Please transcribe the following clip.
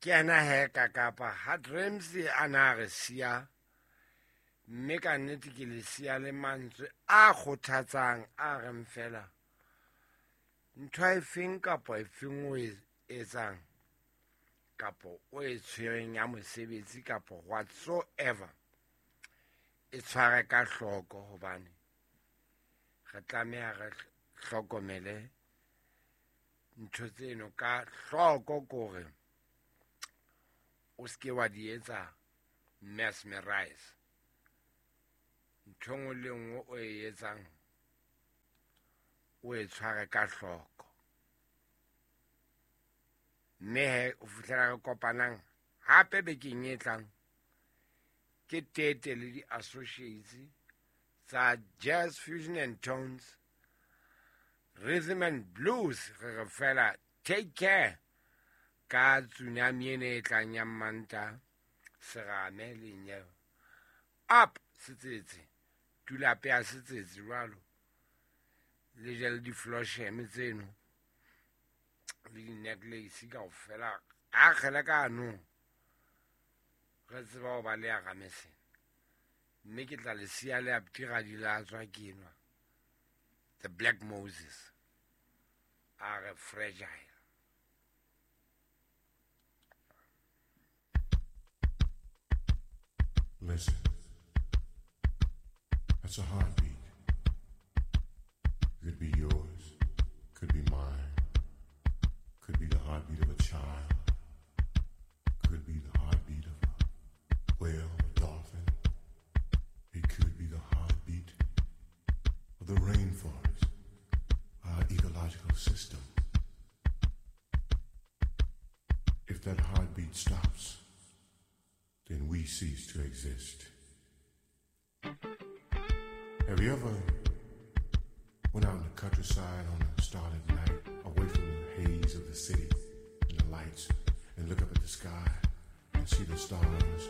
Ke ena he ka kapa ha Dreams a na re siya, mme ka nnete ke le siya le mantswe a kgothatsang a reng fela ntho efeng kapa efeng o e etsang kapa o e tshwereng ya mosebetsi kapa whatsoever, e tshware ka hloko hobane re tlameha re hlokomele ntho tseno ka hloko kore o seke wa di etsa mesmerize. Ntho nngwe le nngwe o e etsang o e tshware ka hloko. Mme he o fihlela re kopanang hape bekeng e tlang, ke Tete le di-associates tsa Jazz Fusion and Tones, Rhythm and Blues. Re re fela take care ka tsunami ene e tlang ya Mmanta, serame le nyeo. Up setsetse, tulape ya setsetse jwalo. Le je le di-flosheme tseno le di-necklace kaofela. A kgele ka anong re tseba ho ba le ya ramesene. Mme ke tla le siya le aptira di latswa ke enwa. The Black Moses a re fragile. Listen, that's a heartbeat. Could be yours, could be mine, could be the heartbeat of a child, could be the heartbeat of a whale, a dolphin. It could be the heartbeat of the rainforest, our ecological system. If that heartbeat stops, then we cease to exist. Have you ever went out in the countryside on a starlit night, away from the haze of the city and the lights, and look up at the sky and see the stars